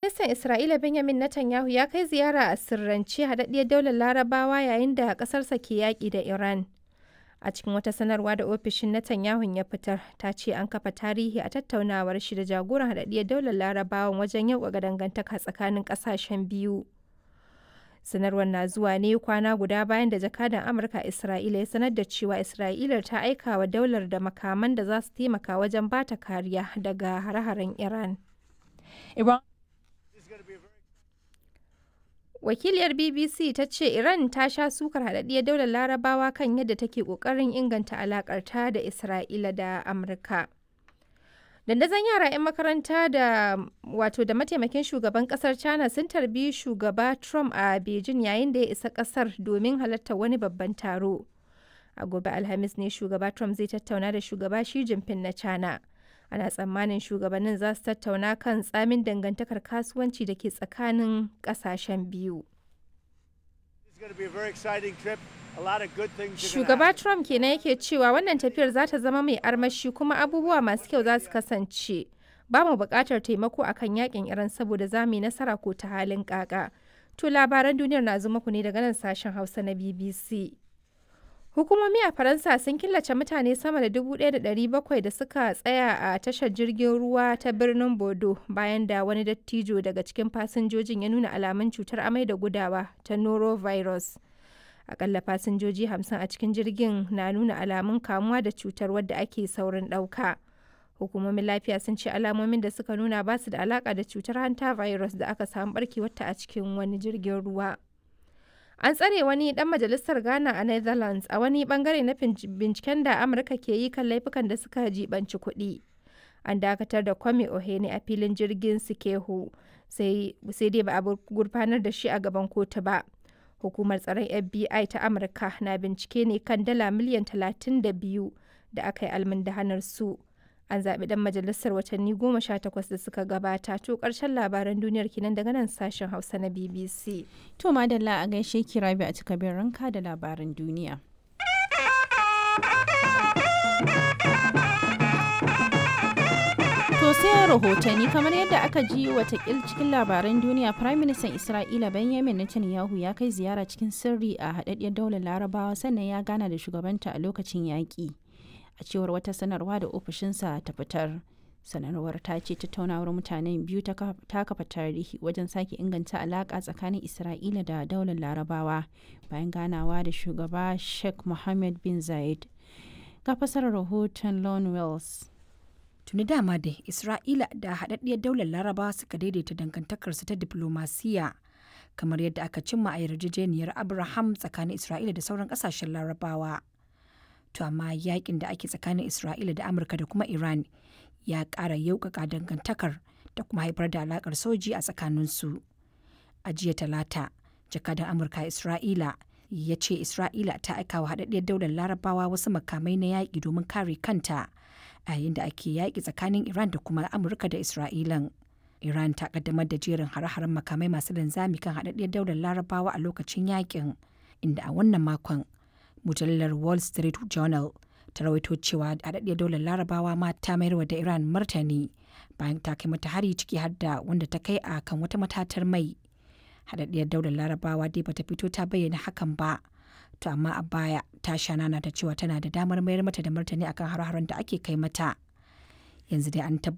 Firaministan Isra'ila Benjamin Netanyahu ya kai ziyara a sirrance Haɗaɗɗiyar Daular Larabawa yayin da ƙasarsa ke yaƙi da Iran. A cikin wata sanarwa da ofishin Netanyahun ya fitar, ta ce an kafa tarihi a tattaunawar shi da jagoran Haɗaɗɗiyar Daular Larabawan wajen yauƙaƙa dangantaka tsakanin ƙasashen biyu. Sanarwar na zuwa ne kwana guda bayan da jakadan Amurka a Isra'ila ya sanar da cewa Isra'ilar ta aika wa daular da makaman da za su taimaka wajen ba ta kariya daga hare-haren Iran. Iran Wakiliyar BBC ta ce Iran ta sha sukar haɗaɗɗiyar daular Larabawa kan yadda take ƙoƙarin inganta alaƙarta da Isra'ila da Amurka. Dandazon yara 'yan makaranta da wato da mataimakin shugaban kasar China sun tarbi shugaba Trump a Beijing yayin da ya isa kasar domin halartar wani babban taro. A gobe Alhamis ne shugaba Trump zai tattauna da shugaba Xi Jinping na China. Ana tsammanin shugabannin za su tattauna kan tsamin dangantakar kasuwanci da ke tsakanin kasashen biyu. Shugaba Trump kenan yake cewa wannan tafiyar za ta zama mai armashi kuma abubuwa masu kyau za su kasance. Ba mu buƙatar taimako akan yakin Iran saboda za mu yi nasara ko ta halin kaka. To labaran duniyar na zo muku ne daga nan sashen Hausa na BBC. Hukumomi a Faransa sun killace mutane sama da 1,700 da suka tsaya a tashar jirgin ruwa ta birnin Bordeaux bayan da wani dattijo daga cikin fasinjojin ya nuna alamun cutar amai da gudawa ta norovirus. Akalla fasinjoji 50 a cikin jirgin na nuna alamun kamuwa da cutar wadda ake saurin ɗauka. Hukumomin lafiya sun ce alamomin da suka nuna ba su da alaka da cutar hanta virus da aka samu barkewarta a cikin wani jirgin ruwa. An tsare wani dan majalisar Ghana a Netherlands a wani bangare na binciken da Amurka ke yi kan laifukan da suka jibanci kuɗi. An dakatar da Kwame Ohene a filin jirgin Sikeho, sai dai ba a gurfanar da shi a gaban kotu ba. Hukumar tsaron FBI ta Amurka na bincike ne kan dala miliyan 32 da aka yi almundahanar su. An zaɓi ɗan majalisar watanni 18 da suka gabata. To ƙarshen labaran duniyar kenan daga nan sashen Hausa na BBC. To madalla a gaishe ki Rabi a cikabin ranka da labaran duniya. To sai rahotanni kamar yadda aka ji watakil cikin labaran duniya Prime Minister Isra'ila Benjamin Netanyahu ya kai ziyara cikin sirri a haɗaɗɗiyar daular Larabawa sannan ya gana da shugabanta a lokacin yaƙi. A cewar wata sanarwa da ofishinsa ta fitar. Sanarwar ta ce tattaunawar mutanen biyu ta kafa tarihi wajen sake inganta alaƙa tsakanin Isra'ila da daular Larabawa bayan ganawa da shugaba Sheikh Mohammed bin Zayed. Ga fasarar rahoton Lon Wells. Tuni dama dai Isra'ila da haɗaɗɗiyar daular Larabawa suka daidaita dangantakarsu ta diplomasiya kamar yadda aka cimma a yarjejeniyar Abraham tsakanin Isra'ila da sauran ƙasashen Larabawa. To amma yakin da ake tsakanin Isra'ila da Amurka da kuma Iran ya ƙara yauƙaƙa dangantakar da kuma haifar da alaƙar soji a tsakaninsu. A jiya Talata, jakadan Amurka Isra'ila ya ce Isra'ila ta aika wa haɗaɗɗiyar daular Larabawa wasu makamai na yaƙi domin kare kanta a yayin da ake yaƙi tsakanin Iran da kuma Amurka da Isra'ilan. Iran ta ƙaddamar da jerin hare-haren makamai masu linzami kan haɗaɗɗiyar daular Larabawa a lokacin yaƙin, inda a wannan makon mujallar Wall Street Journal ta rawaito cewa haɗaɗɗiyar daular Larabawa ma ta mayarwa da Iran martani bayan ta kai mata hari ciki har da wanda ta kai a kan wata matatar mai. Haɗaɗɗiyar daular Larabawa dai bata fito ta bayyana hakan ba. To amma a baya ta sha nana ta cewa tana da damar mayar mata da martani akan har-haren da ake kai mata. Yanzu dai an tabbatar